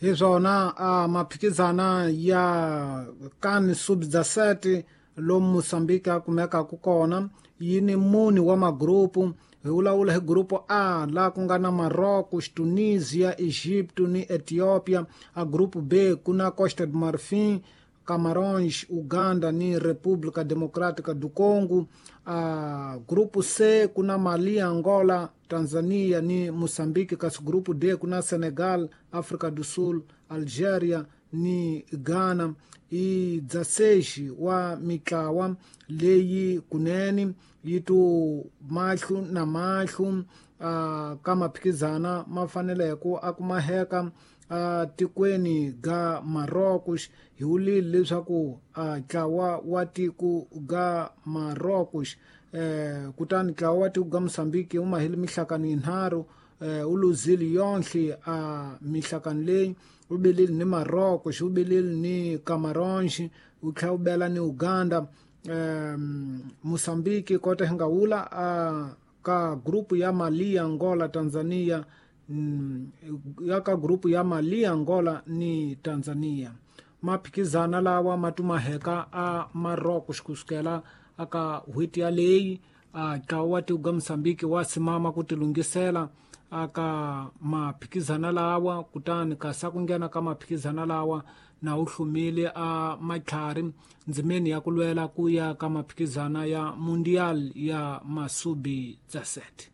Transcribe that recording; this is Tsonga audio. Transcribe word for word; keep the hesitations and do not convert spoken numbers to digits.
Hi swona a maphikizana ya kan sub dezesete lomu Mosambiki a kumekaka kona yi ni mune wa magrupu. Hi vulavula hi grupu A laha ku nga na Marocos, Tunisia, Egipto ni Ethiopia. A grupu B ku na Costa do Marfim, Camarões, Uganda ni República Democrática do Congo. A grupo C ku na Mali, Angola, Tanzania ni Moçambique. Kasi grupo D ku na Senegal, África do Sul, Algeria ni Ghana. I dezesseis wa mitlawa leyi kunene yi tu mahlo na mahlo uh, ka maphikizana ma faneleke a kumaheka a tikweni ga Marocos. Hi vulile leswaku a ntlawa wa tiko ga Marocos eh, kutani ntlawa wa tiko ga Mosambiki wu mahile mihlakano yinharhu, eh, wu luzile yonhle a mihlakano leyi. Wu belile ni Marocos, wu belile ni Camarões, wu tlhela wu bela ni Uganda. um, Mosambiki kota hi nga wula a ka grupu ya Mali, Angola, Tanzania, mm, ya ka grupu ya Mali, Angola ni Tanzania. Maphikizana lawa ma tumaheka a Marocos kusukela aka n'hweti yaleyi. A ntlawa wa tiko ga Mosambiki wa simama ku tilunghisela aka maphikizana lawa, kutani kasi a ku nghena ka maphikizana lawa na wu hlumile a matlhari ndzimeni ya ku lwela ku ya ka maphikizana ya Mundial ya masubi dezesete.